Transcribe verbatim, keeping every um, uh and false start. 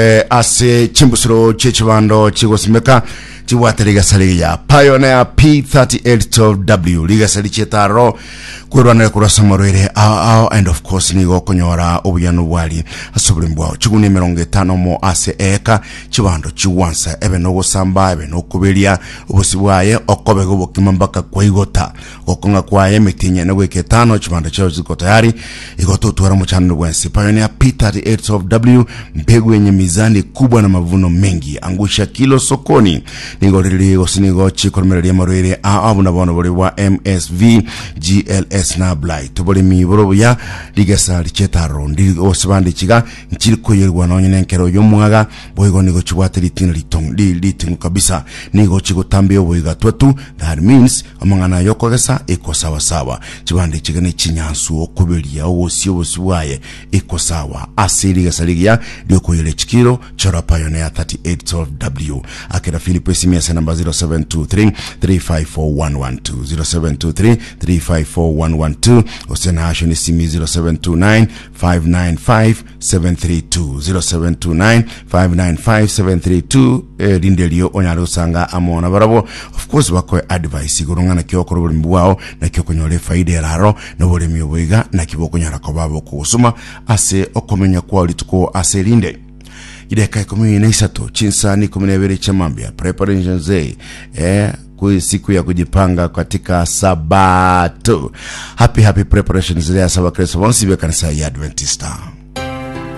Eh, ase chimbusuro chiechibando chigosimeka chibwate rigesa rigiya Pioneer P thirty-eight twelve W, rigesa richietaro kwerwanera korwa ase amarwaire ao ao, and of course nigo okonyora obuyano bwari ase oboremi bwao. Chigunia emerongo etano mo ase eka, chibando chigwansa, ebe nogosamba, ebe nokoberia obosi bwaye, okobega obokima mpaka kwaigota. Gokong'a kwaye emetienyi ene goika etano, chibando chiao ziko tayari. Igo totwara omochanano bwensi. Pioneer P thirty-eight twelve W, mbegu yenye mizani kubwa na mavuno mengi, angusha kilo sokoni. Nigo riri gose nigo chikoremereria amarwaire ao buna bono bori bwa M S V, G L S na blight. Oboremi boro buya, rigesa richetaro ndiri gose bande chiga nchiri koyerwa nonye nenkero y'omwaga. Boigo nigo chibwate ritina ritong ri- riting'u kabisa, nigo chigotambia oboiga twatu. That means amang'ana yokogesa iko sawasawa. Chibande chiga ne chinyansu, okoberia ogosia obosi bwaye iko sawa. Ase rigesa rigiya riokoyera chikiro, chora Pioneer thirty-eight twelve W. Akera Philip esimi ase namba zero seven two three three five four one one two, zero seven two three three five four one one two, gose na asho nesimi zero seven two nine five nine five seven three two, zero seven two nine five nine five seven three two. eh, rinde rio onyare gosanga amo na barabo, of course bakoe advice igoro ng'ana ki okora oboremi bwao, naki okonyora efaida eraro na oboremi oboiga, naki bokonyara koba bokogosoma ase okomenya kwao rituko ase rinde. Ideka ikumi na isato, chinsani ikumi na ibere chamambia. Preparations day, eh, kui siku ya kujipanga katika Sabato. Happy, happy preparations day ase abakristo bonsi bekanisa ya Adventista.